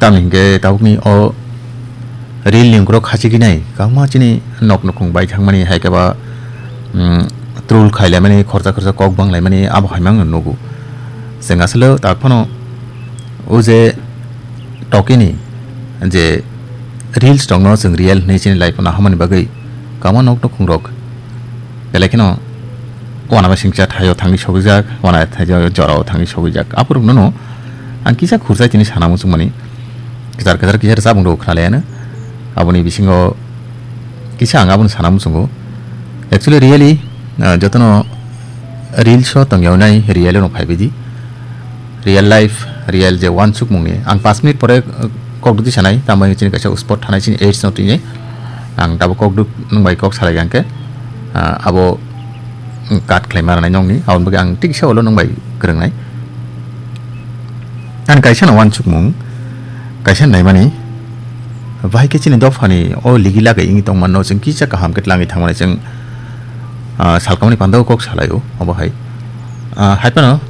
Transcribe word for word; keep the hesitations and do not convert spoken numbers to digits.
Tamni hingke tabukni o reel ni ungkuro khachigwi nai, kwbangma chini nok nukhung bai thangmani, hai khe ba, mm, troll khailaimani, khorsa khorsa kok banglaimani, abo hai mangno nugo. Chwng aswlw tak phano o je tokini je reels rokno chwng real hinwi chini life o naharmani bagwi kwbangma nok nukhung rok belai kheno uanama singcha thaio thangwi sogwijak, uanama thaio jorao thangwi sogwijak. Aborokno no ang kisa khurjai tini sana muchungmani. Kwchar kwchar kisa rwchapung rok khnalaiano. Aboni bisingo kisa ang abono sana muchungo. Actually, really, ah, jotono reels o tongyawnai, real o no phaibaidi. Real life, real je uansukmungni. Ang paanch minute pore, ah, kokduk di sanai, tambai chini kaisa spot thanai chini aids no tini. Ang tabuk kokduk nwng bai kok salai gangkhe, ah, abo cut khlaima rwnai nokni, aboni bagwi ang tiksa ulo nwng bai kwrwngnai. Ani kaisa no uansukmung, kaisa naimani, bahai khe chini dophani o ligi lagai wngwi tongmano chwng kisa kaham khe tlangwi thangmani chwng, ah, salkamani pandao kok salaio, obo hai. Ah, hai phano